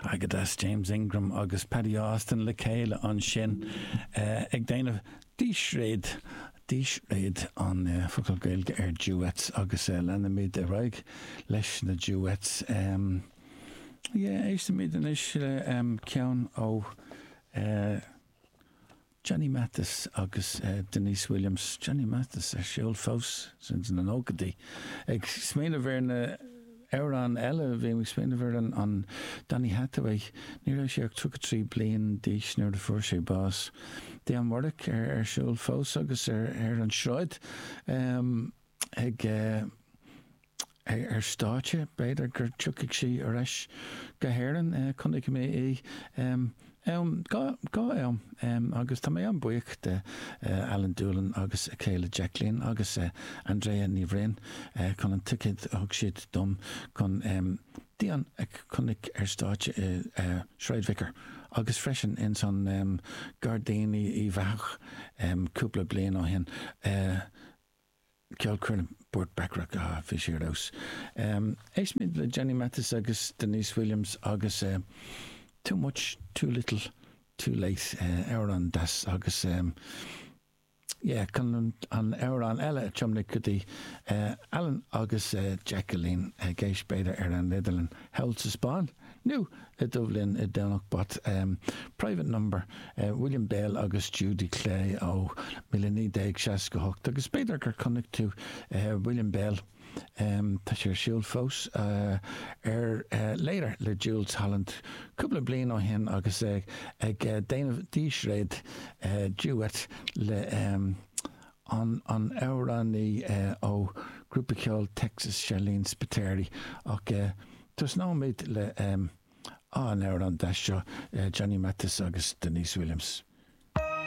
Go deas James Ingram agus Patti Austin le chéile ansin ag déanamh dísréad, dísréad an focal Gaeilge ar duets agus leanfaimid ar aghaidh leis na duets. Yeah, éistfimid anois le ceann ó Johnny Mathis agus Deniece Williams, Johnny Mathis ar siúl fós ins na nóchaidí. Ag smaoineamh ar na amhráin eile, bhí mé ag smaoineamh ar an Donny Hathaway, ní raibh sé ach 33 bliain d'aois nuair a fuair sé bás. Dionne Warwick ar siúl fós agus ar an sráid ag. ar stáitse, b'fhéidir gur tiocfaidh sí ar ais go hÉirinn. Chonaic mé í am, dhá am, agus tá mé an-bhuíoch de Alan Doolan agus a chéile Jacqueline agus Andrea Ní Bhroin chun an ticéad a thug siad dom chun Dionne a chonaic ar stáitse i Sráid Vicar agus freisin ins an Gairdín Uíbh Eachach cúpla bliain ó shin. Ceolchoirm Burt Bacharach, ah, bhí sé ar fheabhas. Éistfimid le Johnny Mathis agus Deniece Williams agus Too Much, Too Little, Too Late, amhrán deas agus yeah, chun an amhrán eile a tiomnú go dtí Alan agus Jacqueline ag éist b'fhéidir ar an idirlíon thall sa Spáinn nó i Duibhlinn i nDomhnach Bat, Private Number, William Bell agus Judy Clay ó 1968 agus b'fhéidir gur chonaic tú William Bell, tá sé ar siúl fós, ar Later le Jools Holland cúpla bliain ó shin agus é ag déanamh dísréad, duet, le an amhránaí ó grúpa ceoil Texas Sharleen Spiteri ach tosnóimid le an amhrán deas seo Johnny Mathis agus Deniece Williams.